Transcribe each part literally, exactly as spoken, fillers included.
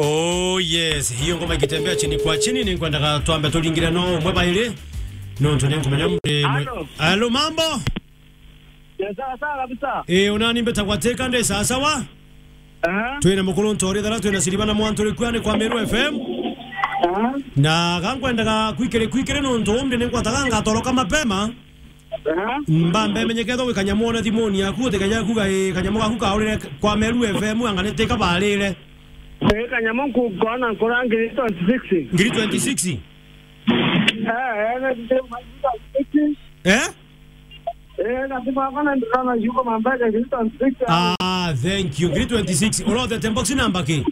Oh yes, hiyo ngoma ikitembea chini kwa chini, ni nkwendaga twambe turingire no umwe bairi. No, ntu ni nkumenya mri mwe- Halo. Halo, mambo? Ya, sawa sawa kabisa. Eh, unani mbeta kwa teka nde sawa sawa? Aha. Twina mukuru ntori thara, twina Siriba na Mwantu Rikua ni kwa Meru F M. Aha. Na gankwendaga kwikiri kwikiri nuntu umri ni nkwataga ngatoroka mapema. Aha. Mbambe menyeketho gwi kanyamu one thimuni yaku, uti kanya kuga, eh, kanyamu gaku kaurire kwa Meru F M, anga ni tika barire. Eh, kanyamu nku-, nkona nkura ngiri twenty-six. Ngiri twenty-six? Eh, eh, ngiri twenty-six. Eh? Eh, na sifa kona ndona yuko mambele ngiri twenty-six. Ah, thank you. Ngiri twenty-six. Urothete box number ki?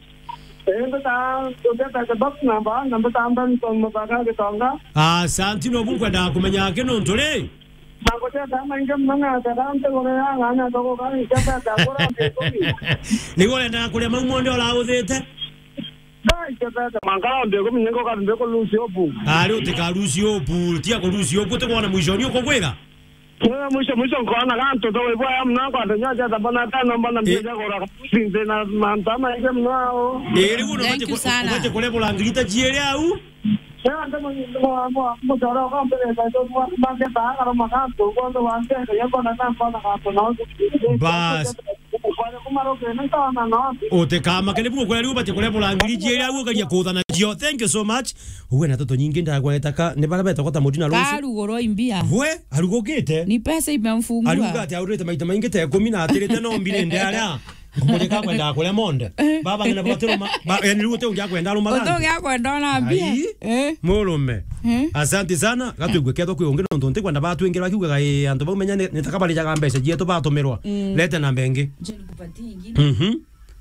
Eh, mbeta, mbeta the box number, na mbeta Benson Muthaka Gitonga. Ah, asanti, no bunkwenda kumenya ki nuntu ri? Naguteta maingi mono na tata ntigure ya ng'ana ndogo kani tata kura mbikumi. Nigo urenda kuria mau monthe urauthite? Ngai tata mwanka mbikumi ningo kambe ku lose hope. Ari utika lose hope, tia ku lose hope, utikwona mwisho ni ukugwira? Mwisho, mwisho, mwisho nkona gantu togwe bwaya muno, kwate nyoja tabona tano mbona mbia gora sinze na mantama inge muno ao. Iri guno Thank you sana. Ubate kurebora ngirita ciere au. Sasa ndo mutoro kwa mbere ndo mande ta agaro magantu kwa ndo wante ya kona na kona gantu na. Bas. Kwa kuma roke na tona na. Utekamake ni buku kweri ubate kurebora ngiri ciere au ukaria kuthana cio. Thank you so much. Uwe na toto nyingi ndagweta ka ni bara beta kota mutu na ruci. Karugurwa imbia. We, arugukite? Ni pesa imemfungua. Aruga ati aurite maita maingi te ikumi na atirite no mbire nde aria. Ngumurika kwenda kuria monde. Eh. Baba ngina bwatiro ma, ba, yani riu uti ungi akwenda aruma. Uti ungi akwenda ona mbia. Ai, eh. Murume. Eh. Asante sana. Gatwigue ketho kwi ungi nontu nti kwenda batwingira kiugaga, eh, antu bau menya ni, ni takabarijaga mbeca cietu batumirwa. Mm. Lete namba ingi. Je nikupatie ingine. Mhm.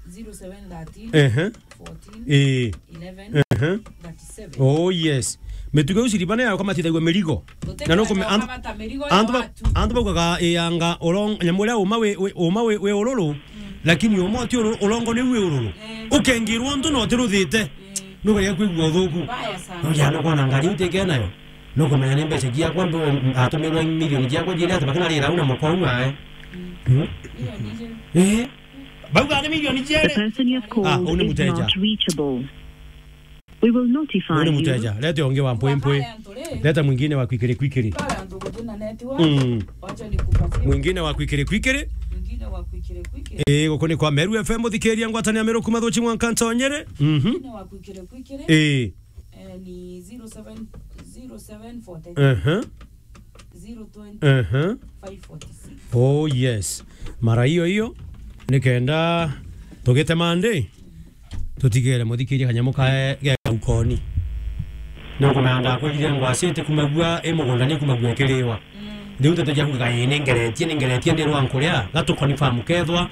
Zero seven thirteen, ehe, fourteen, eh, eleven, ehe, thirty-seven. Oh yes. Mitugo iu ciribane yao kamatithagua mirigo. Na no kume-, antu, antu ba-, antu baugaga, eh, anga urong-, nyamu uria uma wi, wi, uma wi, wi ururu, mm, lakini uma uti ururu, urongo ni wi ururu. Eh. Ukengirwo untu no utiruthite. Eh. Nugeria kwigua uthuku. Mbaya sana. No jana kona ngari utekena nayo. No kumenya ni mbeca ciakwa mbe atumirwe milioni ciakwa jiri ati bakina rira una mukwa ua, eh. Mm. Mm. Milioni ijiri. Eh. Bauga ni milioni jiri. The person you have called is not reachable. Ah, uni muteja. We will notify you. Uni muteja. Lete onge wa mpwe mpwe. Leta mwingine wa kwikiri kwikiri. Pale antu gutina network. Mm. Wacha nikupatie. Mwingine wa kwikiri kwikiri. Mwingine wa kwikiri kwikiri. Eh, guku ni kwa Meru F M, uthikiria ngwatania Meru kuma thuchi mwanka ntonyere. Mhm. Mwingine wa kwikiri kwikiri. Eh. Eh, ni zero seven, zero seven forty. Aha. Zero twenty, aha, five forty-six. Oh yes. Mara hiyo hiyo, nikenda tugite mande, tutigere muthikirie kanyamu kae ge ukoni. Ni kumenya ndakwirire ngwacite kumagua i mugunda ni kumagua ikiriwa. Mm. Riu tete jaku gaye ni ngeretie, ni ngeretie ndirwa nkuria, gatu confirm kethwa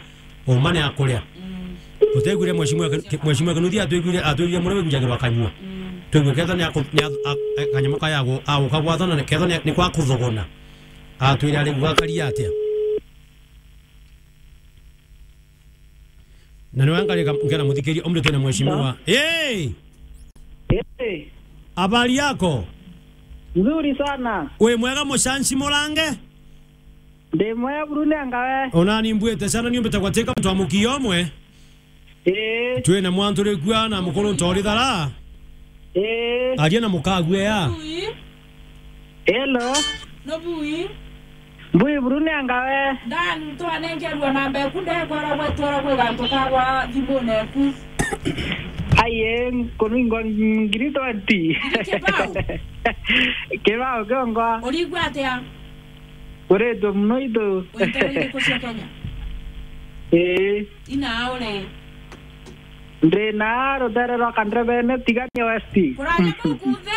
uma ni akuria. Mm. Tutegwire mheshimiwa Ken-, Mheshimiwa Kinuthia atwigwire, atwigwire muria wigujagirwa kanyua. Mm. Twigwe ketha ni aku-, ni a-, a-, a-, kanyamu kaya agu-, aguka gwatha na ketha ni, ni kwa kuthogona. Atwire ari gwakaria atia. Na ni wanga rika ngena muthikiria umri twina mheshimiwa. Hey! Hey! Habari yako? Nzuri sana. Wi mwega mucanci murange? Ndi mwega buru ni anga we? Ona ni mbwite sana ni umbite gwatika muntu wa mukio omwe. Ii. Twina mwantu rikua na mukuru ntori thara. Ii. Aria na mukagwe ya. Bui. Hello. No bui. Mbui buru ni anga we? Ndani twanengerwa namba eku ndekwara gwetwara gwi gantu kagwa thimune eku. Aye, kunu ingwa ngiri twenty. Ngiri kibao? Kibao kiongo. Urigwa atia? Uritwe muno itu. Witara iriku cia Kenya? Ii. Ina uri? Ndi na rutere rwa Kandrebene, Tigania West. Kuraja kuu kunthe?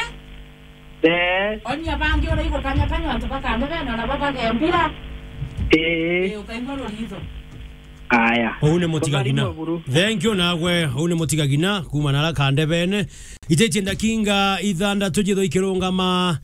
Ee. Onia bangi uraigua kanya kanya antu ba Kandrebene ona bo bagembira. Ii. Ii, ukaigua ruritho. Aya. Uu ni mutigagina. Thank you nagwe. Uu ni mutigagina kuma nara Kandebene. Itetie ndakinga ithandatu jitho ikirungama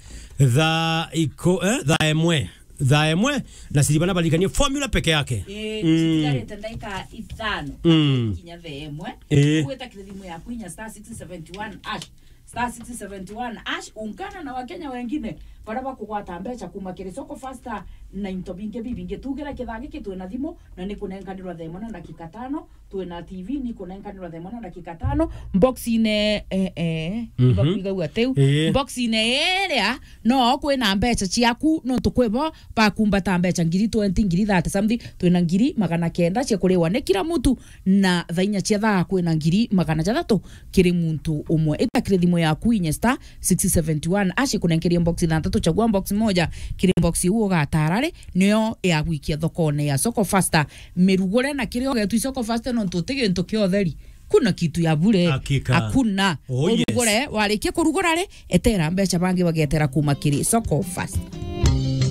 thaa iko-, eh, thaa imwe. Thaa imwe na siribana baririkanie formula peke yake. Eh, mm. Citigarite ndaika ithano. Mm. Kinya thaa imwe. Eh. Gwita kiri thimu yaku inya star six seventy one hash. Star six seventy one hash, ungana na Wakenya wengine baria bakugwata mbeca kuma kiri Soko Fasta na into bingi bibingi. Tugira kithaa giki twina thimu na ni kunenkanirwa thaa imwe na ndakika tano, Twina T V ni kunenkanirwa thaa imwe na ndagika tano. Box-ine, eh, eh, Mhm. ibakuigagua tiu. Ii. Box-ine iria, no kwina mbeca ciaku, nontu kwibo bakumbata mbeca ngiri twenty, ngiri thirty something, twina ngiri magana kenda cia kuriwa ni kila muntu, na thaa inya cia thaa kwina ngiri magana jathatu kiri muntu umwe. Ita kiri thimu yaku inye star six seventy one hash ikunenkerie box ithanthatu, chagua box moja kiri box iu ugatara ri, niyo ya gwikia thokone ya Soko Fasta. Mirugure na kiria ugetu Soko Fasta, nontu uti gintu kia utheri. Kuna kitu ya bure. Hakika. Hakuna. Oh, yes. Urugure, warikia kurugura ri, etera mbeca bangi bagetera kuma kiri Soko Fasta.